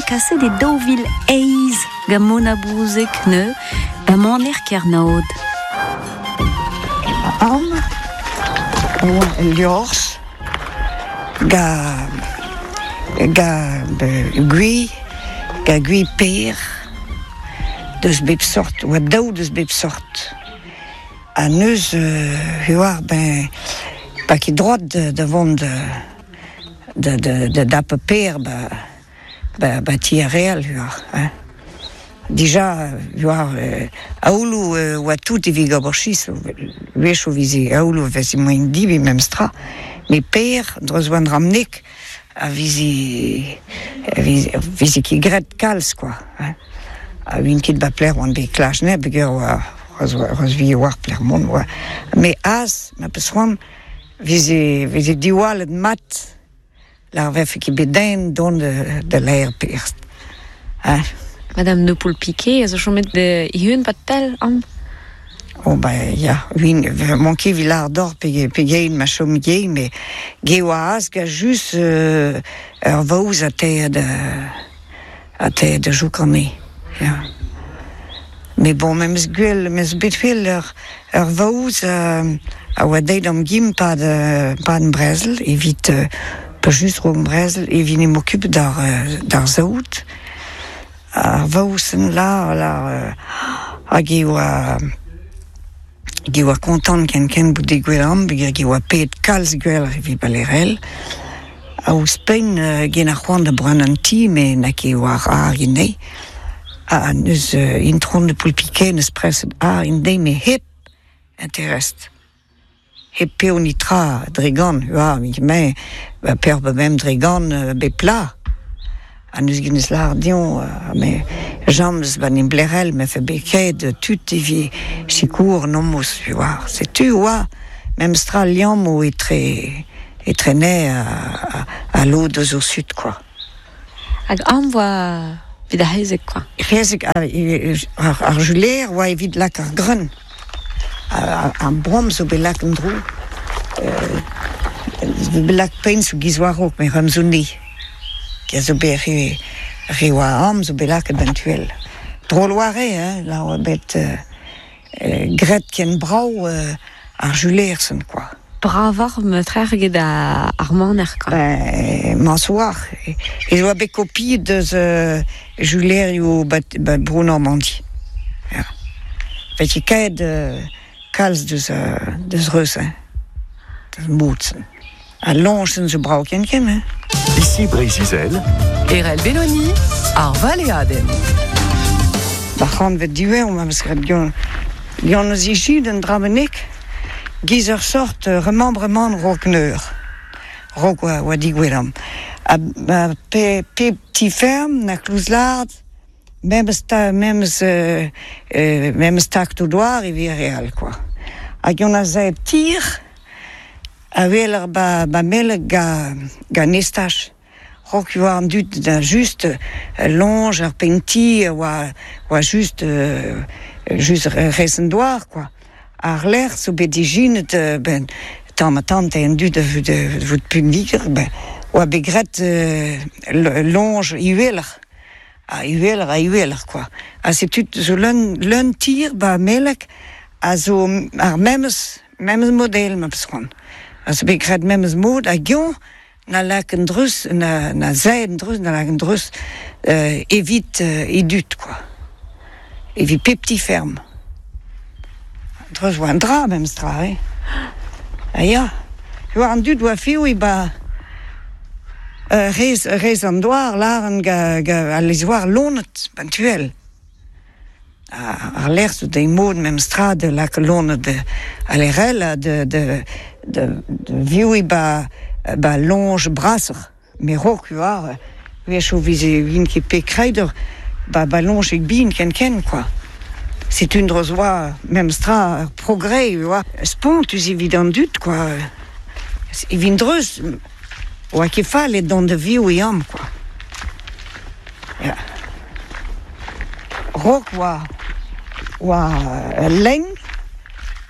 kaset e 2008 gant Mona Bouzeg neu da maner Kernaod. Am oa el liorzh ga ga gwi ga gwi per deus bep sort oa daou deus bep sort. Ha neuze e oar ben pa ket droad da vont da da dapañ per ba ba ba ti ar re all oar hein. Dija oar aoulou oa tout evit ober chistr wechoù 'vize aoulou 'veze moaien divi memestra met per dreuz oa an dra-mnek a vize vize ket graet kalz kwa hein. Ha oan ket ba plec'h oan bet klach neb peogwir oa Rozvi oar plec'h mont oa. Me az ma peus c'hoant vize vize diwallet mat lar vefe ket bet den dont da laer perzh. Hein. Madame de Poulpiquet a zo chomet e-unan 'pad pell amañ. Oh ben ya, win m'on ket evit lâr deoc'h pegeit ma chom ivez, met ge oa az ga just ur vaouez a teir da a teir da joukane, ya. Met bon, me 'meus gwell, 'meus bet fel ur ur vaouez a oa deuet d'am gim 'pad 'pad an brezel evit pa just 'raok an brezel evit 'n em okup d'ar d'ar saout. Ar vaouez-sen la la hag e oa hag e oa kontant ken-ken bout degouezhet amañ peogwir e oa paeet kalz gwelloc'h evit Balerel. Ha ouzhpenn get ar c'hoant da brenañ an ti met n'a ket war ar anezhi. Ha neuze intron de Poulpiquet 'neus preset àr un deiz met hep interest. Hep peo netra dre gant, ya, me, per ba bemp dre gant bep pla. Ha neus ket neus lâret dezhañ, me james ba 'n Blerel me fe bet ket tud evit sikour an homoz, tu vois. Setu oa memes tra liammoù etre etre nez ha lod eus o sud quoi. Hag aon 'voa evit ar c'hezeg kwa. C'hezeg ar juler oa evit lak ar greun. Ar boan zo bet lak en-dro. Zo bet lak penn zo giz war-raok met ram zo ne. Ki zo bet re re oa am zo bet lakaet 'benn tuel. Drol oa re hein, la oa bet graet ken brav ar juler-sen kwa. Bravoc'h meutrec'h eget ar maner kwa. Ben, mañsoar. Ez oa bet kopiet deus julerioù ba bro Normandi. Ya. Vez ket kalz deus deus reuz hein. Deus mod-se. Al loñsenn zo brav ken-ken hein. Ici Breizh-Izel. Erell Belloni, ar valeadenn. Ar c'hantved diwezhañ ma 'meus graet gant gant eus ijin un dra bennak giz ur sort remembrement rock-neur. Rock oa oa digouezet Ha pe pep ti-ferm na klouz-lard memes ta memes memes taktoù douar evit re all kwa. Hag on a zebr tir A weler ba ba Melleg ga gant estaj. Raok e oa an dud da just loñj ar penn-ti a oa oa just just rez an douar kwa. Àr-lerc'h zo bet ijinet ben tamm-ha-tamm te an dud da vout pinvidik ben oa bet graet loñj uheloc'h ha uheloc'h ha uheloc'h kwa. Ha setu zo leun leun tir ba Melleg a zo ar memes Memes model ma peus c'hoant. A zo bet graet memes mod hag eñ na lak an dreuz, na, na zae an dreuz, na lak an dreuz evit e dud kwa. Evit pep ti-ferm. Dreuz oa an dra memes tra hein. Ha ya, war an dud oa fiv ba rez, rez an douar lâran ga, ga al lez-war loened 'ba'n tu all. Ar lec'h zo dezhi mod memes tra da lakaat loened a-lec'hel ha da da viviñ 'ba 'ba loñj brasoc'h. Met 'raok oa wechoù 'vize 'vin ket pet kreider 'ba 'ba loñjig bihan ken-ken kwa. Setu un dra zo oa memes tra ur progrès oa spontus evit an dud kwa. Evit dreuz oa ket fall dont da viviñ amañ kwa. Ya. Raok oa oa ul lenn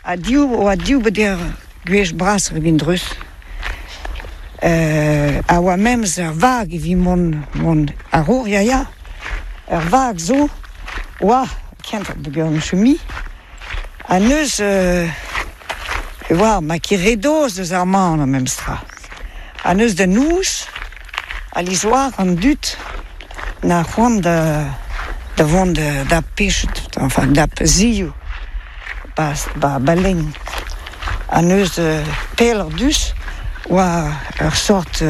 ha div oa div beder gwech brasoc'h evit dreuz. A oa memes ur vag evit mont, mont a-raok, ya ya. Ur vag zo, oa, kentoc'h peogwir n'eus ket mui. Ha neuze e oa ma ket re dozh deus ar man memes tra. Ha neuze da noz, alies 'oar an dud 'na c'hoant da da vont da pechet, enfin da zioù ba ba ba lenn. Ha neuze pelloc'h dus 'oa ur sort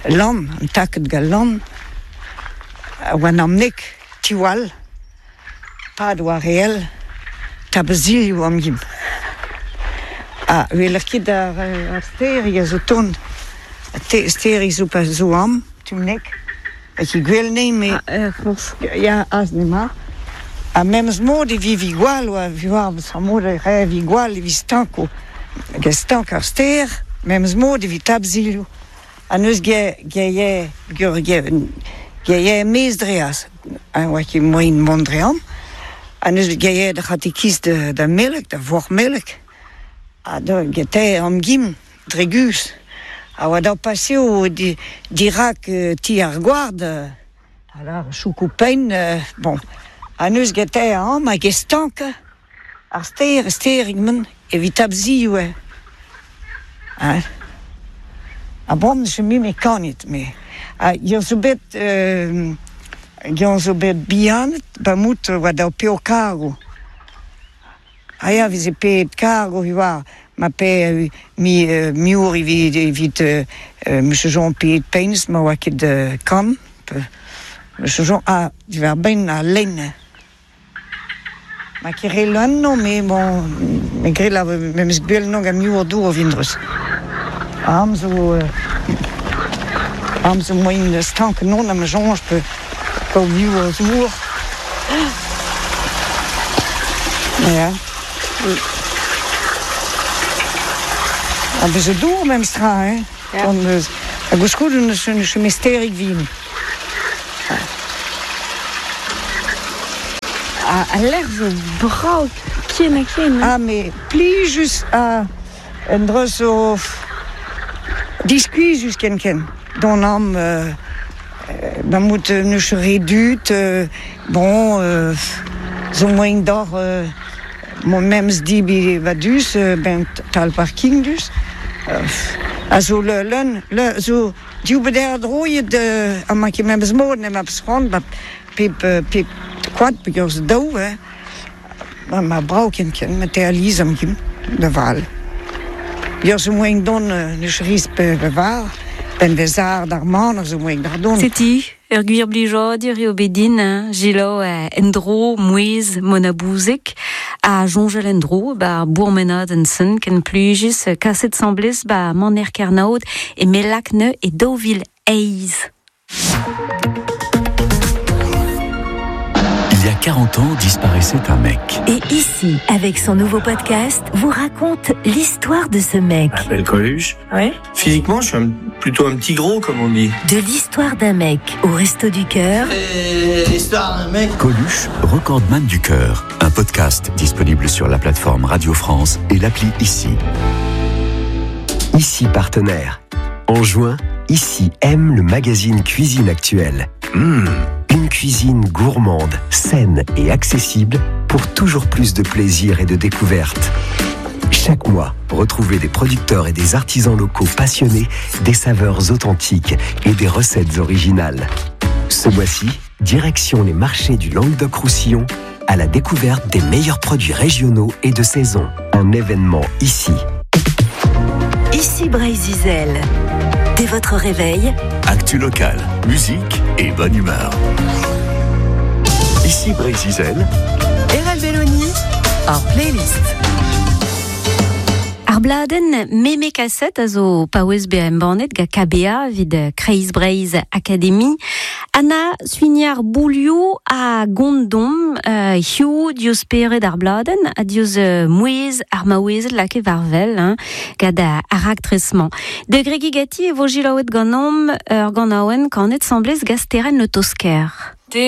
lann, un takad gant lann, a oa namnek tiwall. Pad oa re-ell, tabezilhoù am gin. Ha weler ket ar sterig a zo tont. Sterig zo pa zo am, tumnek. Hag he gwel ne me... Ah, forzh. Ya, aze ema. Ha memes mod e vivi gwall, oa war mod e revi gwall evit stanko. Hag e stank ar ster, memes mod evit tabzilhoù. Ha neus ge ge ge ge mez dreaz. A oa ket moaien mont dre amañ. Ha neuze gaeet ar c'hatekiz da Melek, da Vormelek. Ha da gete an gim, dre guzh. A oa daou paseo di, dirak ti ar gward. Alors, choukou penn, bon. Ha neuze gete amañ hag e stank ar stêr, stêrig-man, evit abzioù eo. Hein. Ha bon, je me me kanit, me. Ha eo zo bet, eo zo bet bihanet, ba mout oa daou peo kargo. Ha ya, veze pet kargo war, ma pe mi miour evit, evit Monsieur Jean pet peins, ma oa ket kan. Monsieur Jean, ah, diwar benn a lenn. Ma ket re leun me bon, me gred la memes gwell no gant miour dour o vindrus. Am zo am zo moaien stank non am soñj pe kaout miour zour. Ja. Ha bez zo dour memes tra, hein. Ja. Hon eus ha gouskoude neus neus mesterig vin. A lec'h zo brav ken ha ken. Ah, mais plijus a un dra zo diskuizhus ken-ken. D'an am da mout neus re dud, bon, zo moaien d'or mont memes dibi vadus, ben tal parking dus. A zo leun, le, zo div beder droiet amañ ket memes mod nem abs c'hoant ba pep pep koad peogwir zo daou hein. Ma brav ken-ken, ma te alies am gim da val. Peogwir zo moaien dont neus riz pe var, ben vezar d'ar man a zo moaien d'ar dont. Setu ur gwir blijadur eo bet din, hein, Gilo en-dro mouezh Mona Bouzeg ha soñjal en-dro ba bourmenadenn-sen ken plijus kaset 'sambles ba Maner Kernaod e Melakne e 2008. Il y a 40 ans disparaissait un mec. Et ici, avec son nouveau podcast, vous raconte l'histoire de ce mec. Je m'appelle Coluche. Ouais. Physiquement, je suis plutôt un petit gros, comme on dit. De l'histoire d'un mec au Resto du Cœur. L'histoire d'un mec. Coluche, recordman du cœur. Un podcast disponible sur la plateforme Radio France et l'appli Ici. Ici partenaire. En juin, Ici aime le magazine Cuisine Actuelle. Mmh, une cuisine gourmande, saine et accessible pour toujours plus de plaisir et de découverte. Chaque mois, retrouvez des producteurs et des artisans locaux passionnés des saveurs authentiques et des recettes originales. Ce mois-ci, direction les marchés du Languedoc-Roussillon à la découverte des meilleurs produits régionaux et de saison. Un événement ici. Ici Breizh-Izel. Dès votre réveil, Actu locale, musique et bonne humeur. Ici Breizh-Izel. Erel Belloni, ar playlist. Ar bladenn Meme Kaset a zo paouez bezañ embannet gant KBA evit Kreiz Breizh Academy. Anna Suignard Boulioù a gondom hiziv diouzh spered ar bladenn ha diouzh mouezh ar maouezed lakaet war wel hein, gant ar raktres-mañ. Da gregiñ ganti e vo selaouet ganeomp ur ganaouenn kanet 'sambles gant Sterenn Le Tosker.